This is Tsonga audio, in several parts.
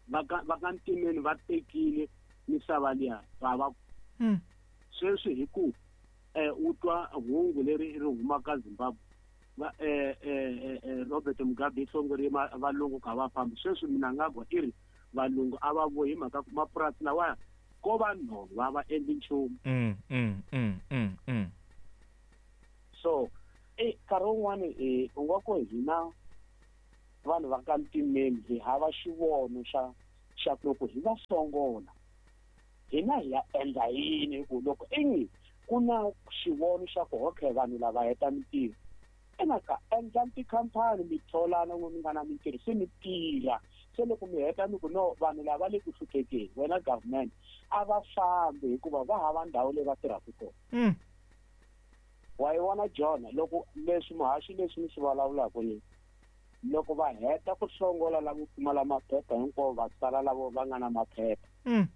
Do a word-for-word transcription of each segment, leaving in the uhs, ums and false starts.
Va ka va ka ntimeni va tekile misava liya va va Mm. sweswi hi ku eh u twa hungu leri ri humaka Zimbabwe va eh eh eh Robert Mugabe i hlongoriwe valungu ka va fambi sweswi Mnangagwa i ri valungu a va vuyi hi mhaka ku mapurasi lawaya ko va nhova va endli nchumu. Mm, mm, mm, mm, mm. So eh nkarhi wun'wani eh u nga ku hina vanhu va ka ntimeni hi hava xivono xa xa ku loko hi va songola hina hi ya endla yini hi ku loko ingi ku na xivono xa ku okay vanhu lava heta mintirho ena ka endla tikhampani mi tholana n'we mi nga na mintirho se mi tirha se loko mi heta mi ku no vanhu lava le ku hluphekeni wena government a va fambi hikuva va hava ndhawu leyi va tirhaka kona. Mm. Wa yi vona John loko leswi muhaxi leswi mi swi vulavulaka leswi loko va heta ku hlongola lavo pfumala maphepha hinkwavo va sala lavo va nga na maphepha. Mm.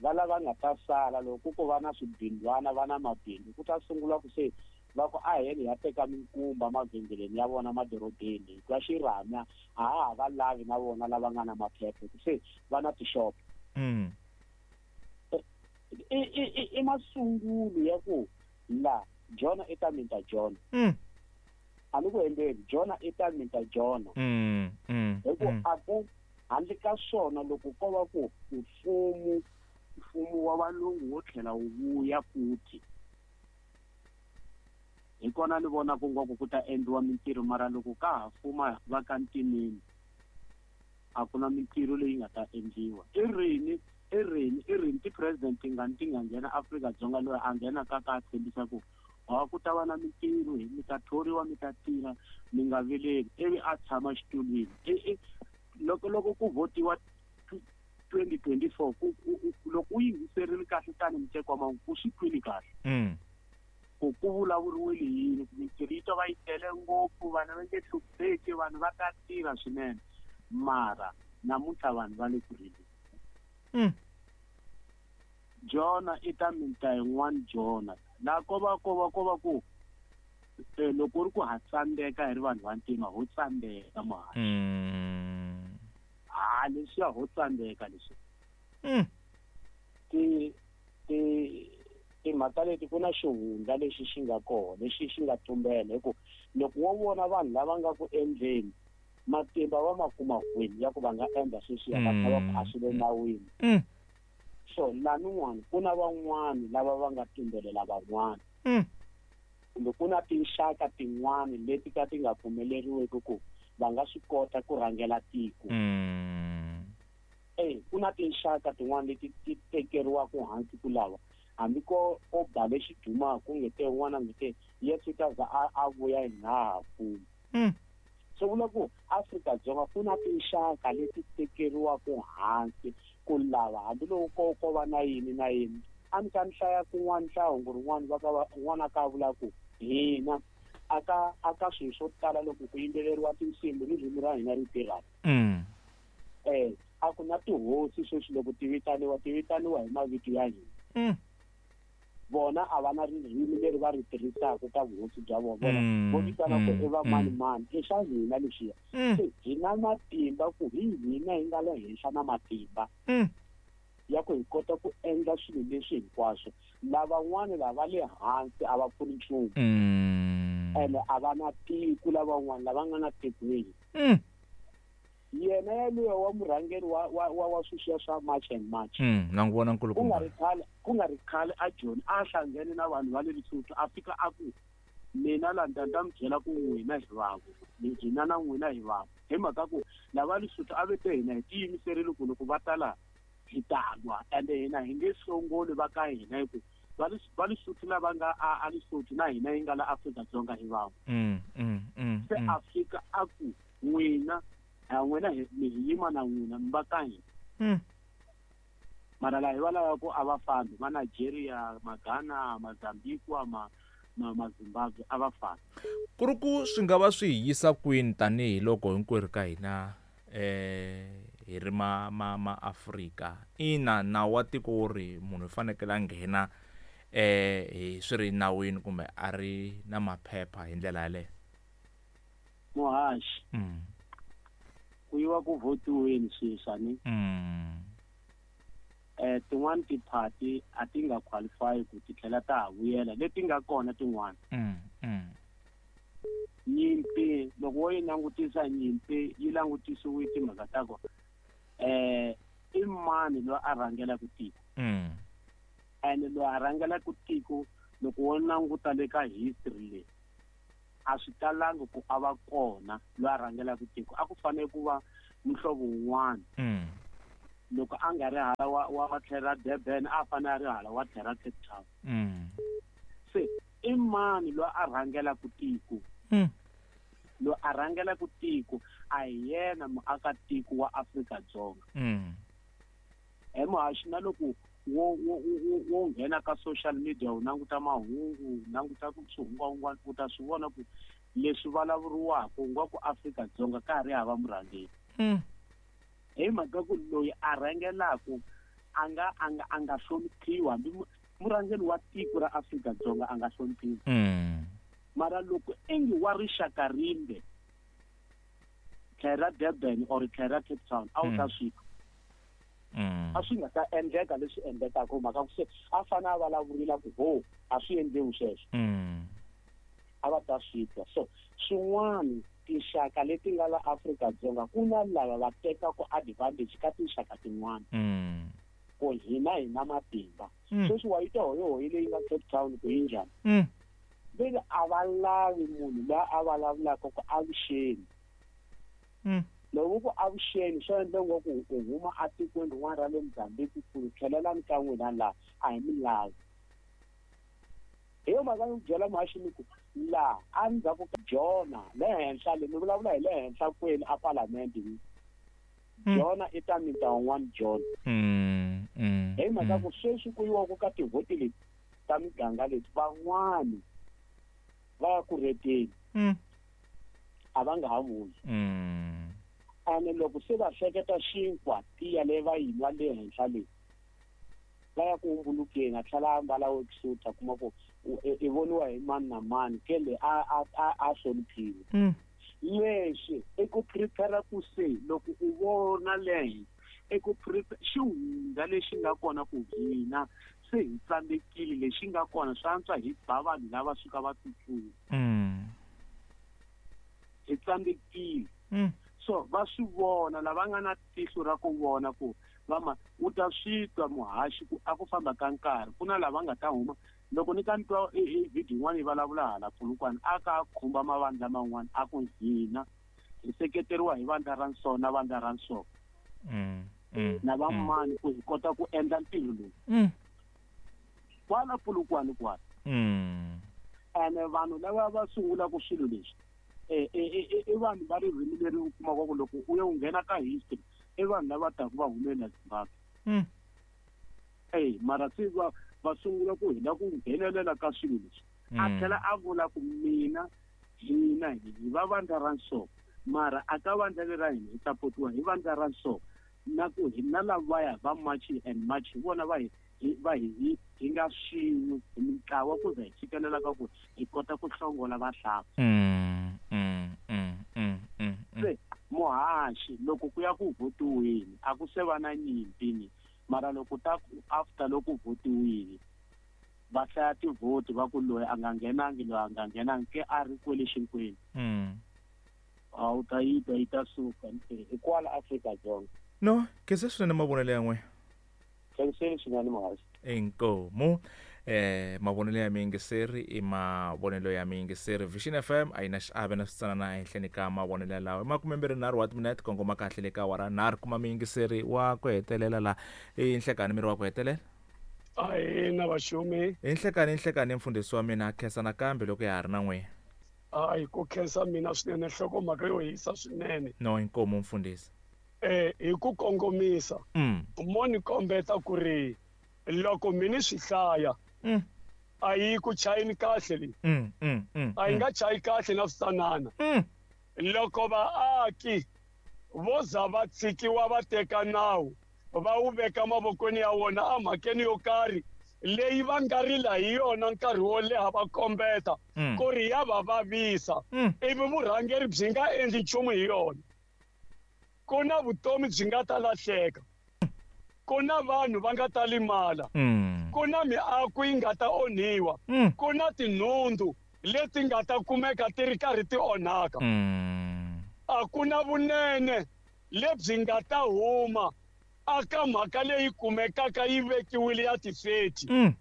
Va lava nga ta sala loko ku va na swibindwana va na mabindzu ku ta sungula ku se va ku a heli ya teka minkumba mavhengeleni ya vona madorobeni hikuva xirhami a ha ha va lavi na vona lava nga na maphepha ku se va na tixopo. Mm. I, i, i, i masungulo ya ku la Jona i ta minta Jona. Mm. A ni ku endleni Jona i ta minta Jona. Mm, mm, Hi ku mm. a ku handle ka swona loko ko va ku mfumo mfumo wa valungu wo tlhela wu vuya futhi hi kona ni vona ku nga ku ku ta endliwa mintirho mara loko ka ha fuma va ka ntimeni a ku na mintirho leyi nga ta endliwa. I rini i rini i rini ti-president ti nga ti nga nghena Afrika-Dzonga loyi a nghena ka ka tshembisa ku ha ku ta va na mintirho mi ta thoriwa mi ta tirha mi nga vileli ivi a tshama xitulwini. I, i, loko loko ku votiwa twenty twenty-four ku, ku, ku, loko u yingiserile kahle tani muteko wa mahungu u swi twile kahle. Mm. Ku ku vulavuriwile yini ku mintirho yi to va yi tele ngopfu vanhu va nge hlupheki vanhu va ta tirha swinene mara namuntlha vanhu va le ku rileni. Mm. Jona i ta minta yin'wana Jona la ko va ko va ko va ku eh, loko ri ku ha tsandzeka hi ri vanhu va ntima ho tsandzeka muhaxi. Mm. Ha leswiya ho tsandzeka leswi. Mm. Ti, ti, timhaka leti ku na xihundla lexi xi nga kona lexi xi nga tumbela hi ku loko wo vona vanhu lava nga ku endleni matimba va ma kuma kwini ya ku va nga endla sweswiya va kha va ku a swi le nawini. Mm. So lanin'wana ku na van'wani lava va nga tumbelela van'wana. Mm. Kumbe ku na tinxaka tin'wani leti ka ti nga pfumeleriweki ku va nga swi kota ku rhangela tiko. Mm. Eh, ku na tinxaka tin'wani leti ti tekeriwaka hansi ku lava hambi ko ko ba lexi dumaka ku nge te un'wana nge te Yesu ta za a, a vuya hi ha fuma. Mm. Swi vula ku Afrika-Dzonga ku na tinxaka leti tekeriwaka hansi ku lava hambiloko ko, ko va na yini na yini. A ni ta ni hlaya kun'wana hlaya hungu rin'wana va ka va, un'wana a ka vula ku hina a ka, a ka swilo swo tala loko ku yimbeleriwa tinsimu ririmi ra hina ri tirhaka. Mm. Eh, a ku na tihosi sweswi loko ti vitaniwa, ti vitaniwa hi mavito ya hina. Mm. Vona a va na ririmi leri va ri tirhisaka ka vuhosi bya vona. Vona Mm, vo vitana ku mm, i va mani mm. mani, i swa hina leswiya. Mm. Se hi na matimba ku hi hina hi nga le henhla na matimba Mm. ya ku hi kota ku endla swilo leswi hinkwaswo. Lavan'wana lava le hansi a va pfuni nchumu. Mm. Ene a va na tiko lavan'wana lava nga na tikweni. Mm. Yena yaloye wa murhangeri wa, wa, wa, wa sweswiya swa March and March. Mm, na n'wi vona nkulukumba. Ku nga ri khale, ku nga ri khale a Joni a hlangene na vanhu va le Lesotho a fika a ku mina la ni ta mi byela ku n'wina hi vanhu, hina na n'wina hi vanhu. Hi mhaka ku lava Lesotho a ve te hina hi tiyimiserile ku loko va ta laha hi ta lwa, ende hina hi nge hlongoli va ka hina hi ku va le, va Lesotho lava nga a, a Lesotho na hina hi nga la Afrika-Dzonga hi vanhu. Mm, mm, mm, Se mm. a fika a ku n'wina, a n'wina hi, mi hi yima na n'wina mi va ka hina. Mm. Mara laha hi va lava ku a va fambi, ma Nigeria, ma Ghana, ma Mozambique, ma, ma, ma Zimbabwe a va fambi. Ku ri ku swi nga va swi hi yisa kwini tanihiloko hinkwerhu ka hina, eh, hi ri ma, ma, ma Afrika. Ina, nawu wa tiko wu ri munhu u fanekele a nghena, eh, hi swi ri nawini kumbe a ri na maphepha hi ndlela yaleyo. Muhaxi. Mm. Ku Ku yiwa ku votiweni sweswi ni. Mm. Eh tin'wani tiphati a ti nga qualify ku ti tlhela ta ha vuyela leti nga kona tin'wana. Mm. Mm. Nyimpi loko wo yi langutisa nyimpi yi langutisiwe timhaka ta kona. Eh i mani loyi a rhangelaka tiko. Mm. And loyi a rhangelaka tiko loko wo languta le ka history leyi a swi talangi ku a va kona loyi a rhangelaka tiko a ku fanele ku va muhlovo wun'wana. Mm. Loko a nga ri hala wa wa tlhela ra Durban a fanele a ri hala wa tlhela ra Cape Town. Mm. Se i mani loyi a rhangelaka tiko? Mm. Loyi a rhangelaka tiko a hi yena muakatiko wa Afrika-Dzonga. Mm. He muhaxi na loko wo wo wo nghena ka social media u languta mahungu languta ku swihungwahungwana u ta swi vona ku leswi vulavuriwaka nga ku Afrika-Dzonga ka ha ri hava murhangeri. Mm. Hi mhaka ku loyi a rhangelaka a nga a nga a nga hloniphiwi hambi murhangeri wa tiko ra Afrika-Dzonga a nga hloniphiwi. Mm. Mara loko ingi wa rixaka rimbe tlhela ra Durban or tlhela ra Cape Town a wu ta swi Mm. a swi nga ta endleka leswi endlekaka mhaka ku se a fanele a vulavurila ku ho a swi endliwi sweswo. Mm. A va ta swi twa. So swin'wana tinxaka leti nga la Afrika-Dzonga ku na lava va tekaka advantage ka tinxaka tin'wana. Mm. Ku hina hi na matimba. Mm. Sweswi wa yi twa hoyohoyi leyi nga Cape Town ku yi njhani? Mm. Vele a va lavi munhu loyi a vulavulaka ku avuxeni. Mm. Loko ku avuxeni swi endla ngo ku u huma atikweni rin'wana ra le Mozambique ku tlhelelani ka n'wina laha a hi mi lavi. Hi yo mhaka ni byela muhaxi ni ku laha endzhaku ka Jona le henhla le ni vulavula hi le henhla kwenu a palamende ni. Jona i ta mita wun'wana Jona. Mm. Mm. Hi mhaka ku sweswi ku yiwaka ka tivhoti leti ta miganga leti van'wani va ya ku reteni. Mm. A va nga ha vuyi. Mm. Ene loko se va hleketa xinkwa tiya leyi va yi nwa le henhla leyi va ya ku humbulukeni a tlhela a ambala worksuit a kuma ku i voniwa hi mani na mani ke le a a a a hloniphiwe. Mm. Leswi i ku prepare ku se loko u vona le henhla i ku prepare xihundla lexi nga kona ku hina se hi tsandzekile lexi nga kona swi antswa hi ba vanhu lava suka va tsutsuma. Mm. Hi tsandzekile. Mm. So va swi vona lava nga na tihlo ra ku vona ku va ma u ta swi twa muhaxi ku a ku famba ka nkarhi ku na lava nga ta huma loko ni ka ni twa i video yin'wana yi vulavula hala Polokwane a ka khumba mavandla man'wana a ku hina hi seketeriwa hi vandla ra nso na vandla ra nso. Mm. Mm. Na va mani ku hi kota ku endla ntirho lowu. Mm. Kwala Polokwane kwala. Mm. Ene vanhu lava va sungulaka swilo leswi eh eh i vanhu va ririmi leri u kumaka ku loko u ya u nghena ka history i vanhu lava taka va humela Zimbabwe. Mm. Eh mara se va va sungula ku hina ku nghenelela ka swilo leswi. A tlhela a vula ku mina hina hi va vandla ra nso mara a ka vandla leri ra hina hi sapotiwa hi vandla ra nso na ku hina lavaya va march and march hi vona va hi va hi hi nga swin'we hi mintlawa ku za hi fikelela ka ku hi kota ku hlongola vahlampfa. Mm. Mm. Mm. Mm. Mm. Se muhaxi loko ku ya ku votiweni a ku se va na nyimpi ni mara loko ta after loko votiwile va hlaya tivhoti va ku loyi a nga nghenangi loyi a nga nghenangi ke a ri kwele xinkwenu. Mm. A wu ta yi twa yi ta suka hi kwala Afrika-Dzonga. No, khensa swinene mavonelo ya n'wina. Khenseni swinene muhaxi. Inkomu. Eh mavonelo ya miyingiseri i mavonelo ya miyingiseri. Vision F M a yi na xiave na switsanana ehenhleni ka mavonelo yalawo. I makume mbirhi nharhu wa timinete kongoma kahle le ka awara nharhu kuma miyingiseri wa ku hetelela la i nhlekani miri wa ku hetelela. Ahi na vaxumi. I nhlekani nhlekani mfundhisi wa mina khensa nakambe loko ya ha ri na n'wina. Hayi ku khensa mina swinene nhlokomhaka yo hisa swinene. No inkomu mfundhisi. Eh hi ku kongomisa. Mm. Mo ni kombeta ku ri loko mi ni swi hlaya. Mm. A yi ku chayini kahle leyi. Mm, mm, mm, A yi nga chayi kahle na switsanana. Mm. Loko vaaki vo za va tshikiwa va teka nawu va wu veka mavokweni ya wona emhakeni yo karhi leyi va nga rila hi yona nkarhi wo leha va kombeta Mm. ku ri ya va vavisa Mm. ivi vurhangeri byi nga endli nchumu hi yona. Ku na vutomi byi nga ta lahleka. Ku na vanhu va nga ta limala. Mm. Ku na miako yi nga ta onhiwa. Mm. Ku na tinhundzu leti nga ta kumeka ti ri karhi ti onhaka. Mm. A ku na vunene lebyi nga ta huma aka mhaka leyi kumekaka yi vekiwile ya tifeti. Mm.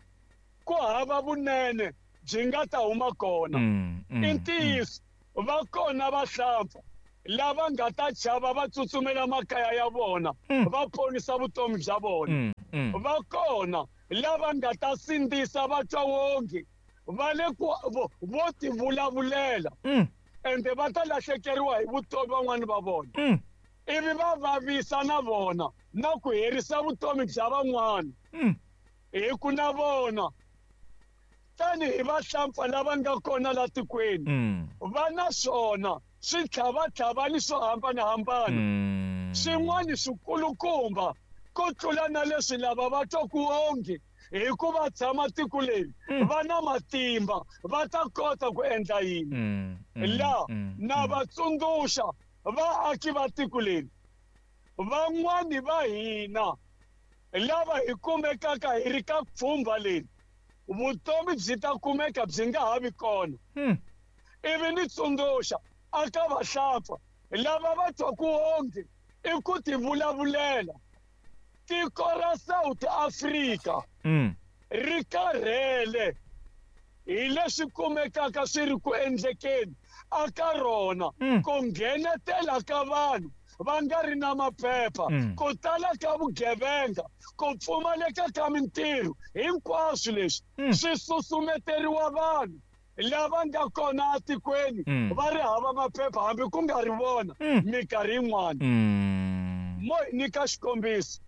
Ku hava vunene byi nga ta huma kona. Mm. Mm. I ntiyiso va kona vahlampfa lava nga ta chava va tsutsumela makaya ya vona Mm. va ponisa vutomi bya vona. Mm. Mm. Va kona lava nga ta sindzisa va twa wonge va le ku vo, vo tivulavulela Mm. ende va ta lahlekeriwa hi vutomi van'wani va vona. Mm. Ivi va vavisa na vona na ku herisa vutomi bya van'wana. Mm. Hi ku na vona tanihi vahlampfa lava nga kona la tikweni Mm. va na swona switlhavatlhavani swo hambanahambana. Mm. Swin'wana swikulukumba ku tlula na leswi lava va twaku onge hi ku va tshama tiko leri Mm. va na matimba va ta kota ku endla yini. Mm. Mm. La Mm. na va tsundzuxa vaaki va tiko leri van'wani va hina lava hi kumekaka hi ri ka pfhumba leri vutomi byi ta kumeka byi nga ha vi kona. Mm. Ivi ni tsundzuxa aka vahlampfa lava va twaku onge i ku tivulavulela. Tiko ra South Africa Mm. ri karhele hi leswi kumekaka swi ri ku endlekeni aka rona. Mm. Ku nghenetela ka vanhu va nga ri na maphepha, Mm. ku tala ka vugevenga, ku pfumaleka ka mintirho, hinkwaswo leswi Mm. swi susumeteriwa vanhu lava nga kona etikweni Mm. va ri hava maphepha hambi ku nga ri vona Mm. minkarhi yin'wana. Mm. Mo hi nyika xikombiso,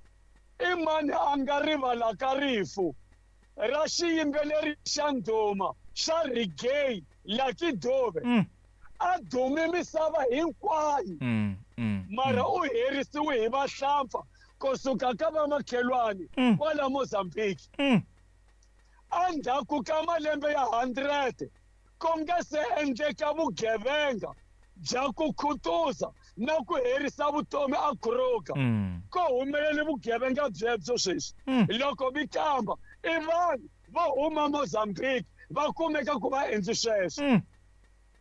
i mani a nga rivalaka rifu ra xiyimbeleri xa ndhuma xa reggae Lucky Dube? Mm. A dume misava hinkwayo. Mm. Mm. Mara u herisiwe hi vahlampfa kusuka ka vamakhelwani Mm. kwala Mozambique. Mm. Endzhaku ka malembe ya hundred ku nga se endleka vugevenga bya ku khutuza na ku herisa vutomi a Kruger. Mm. Ku humelele vugevenga byebyo sweswi. Mm. Loko mi kamba i vanhu vo huma Mozambique va kumeka ku va endli sweswo. Mm.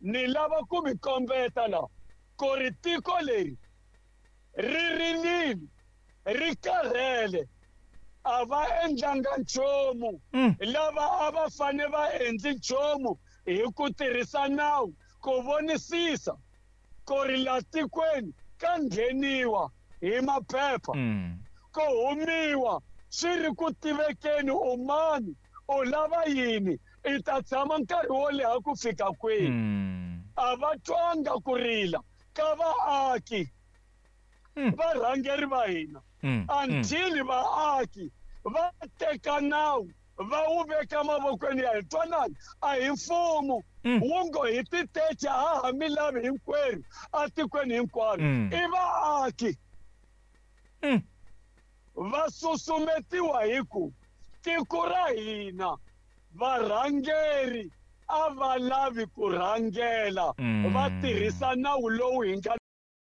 Ni lava ku mi kombeta la ku ri tiko leri ri rilile, ri karhele, a va endlanga nchumu. Mm. Lava a va fane va endli nchumu hi ku tirhisa nawu ku vonisisa ku ri la tikweni ka ngheniwa hi maphepha, Mm. ku humiwa swi ri ku tivekeni u mani, u lava yini, i ta tshama nkarhi wo leha ku fika kwihi. Mm. A va twanga ku rila ka vaaki Mm. varhangeri va hina Mm. until vaaki va teka nawu va wu veka mavokweni ya hina. Twanani, a hi mfumo Mm. wu ngo hi titece ha ha mi lavi hinkwerhu atikweni hinkwaro. Mm. I vaaki Mm. va susumetiwa hi ku tiko ra hina varhangeri a va lavi ku rhangela Mm. va tirhisa nawu lowu hi nga